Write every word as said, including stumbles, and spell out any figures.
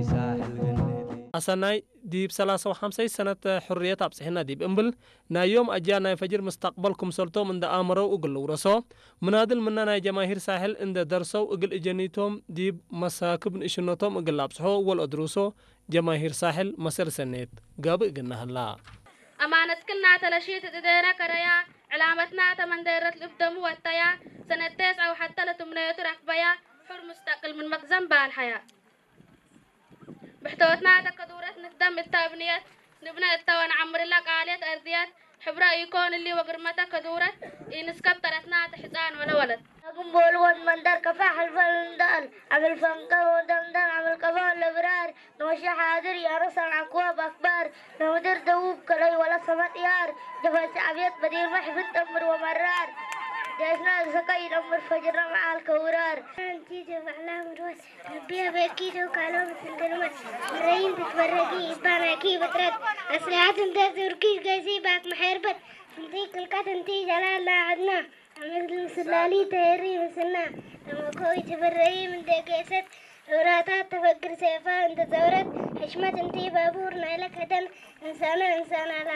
ሳሕል ግንእቲ። አሰናይ ዲብ ሰላሳ ወሐምሳይ ሰነት ሕርየት አብጽሕነ ዲብ እምብል፣ ናይ ዮም አጅያል ናይ ፈጅር ምስተቅበል ክምሰልቶም እንደ አመረው እግል ልውረሶ፣ ምናድል ምነ ናይ ጀማሂር ሳሕል እንደ ደርሰው እግል እጀኒቶም ዲብ መሳክብ ንእሽነቶም እግል ለአብጽሖ ወለአድሩሶ ጀማሂር ሳሕል መሰል ሰኔት ጋብእ እግልነ ህላ። አማነትክን ናተ ለሺት እት እዴነ ከረያ፣ ዕላመትና ተ መንደረት ልብ ደሙ ወተያ፣ ሰነት ቴስዐ ወሐተ ለትምነየቱ ረክበያ፣ ሑር ሙስተቅል ምን መክዘን ባልሐያ። ብሕቶትና ተ ከዱረት ንክደም እተ እብንየት፣ ንብነ እተ ወነዐምርለ ቃልየት አርድየት፣ ሕብረ ኢኮን እሊ ወግርመተ ከዱረት ኢንስከብ ተረትና ተ ሕጻን ወለ ወለት። አግም ቦልወን መንደር ከፋ ሐልፈ ልንዳል፣ አምል ፈንቀር ወደምዳን አምል ቀፋ ለብራር፣ ኖሸ ሓድር ያረሰን አክዋብ አክባር፣ ለምድር ደቡብ ከለይ ወለ ሰመጥ ያር፣ ጀፈ ሸዕብየት በዲርመ ሕብን ጠምር ወመራር፣ ዴስና ሰቀይ ይጠምር ፈጅርነ መዓል ከውራር። አንቲ ጀበዕላ ምርወስ፣ ረቢ አበኪ ዶ ካሎም ስንግልመት፣ ምረይን ትትበረጊ፣ ኢባናኪ ብጥረት፣ አስሊሐት እንተ ዙርኪ ገዚ ባክ መሐርበት፣ ፍንቲ ክልቀት እንቲ ጀላል ላዐድና፣ አመት ምስላሊ ተሄሪ ምስና፣ ለመኮይ ትብረይ ምን ደገሰት፣ ዑራታት ተፈግር ሴፋ እንተ ዘውረት፣ ሕሽመት እንቲ ባቡር ናይለ ከደን፣ እንሳና እንሳና ላና።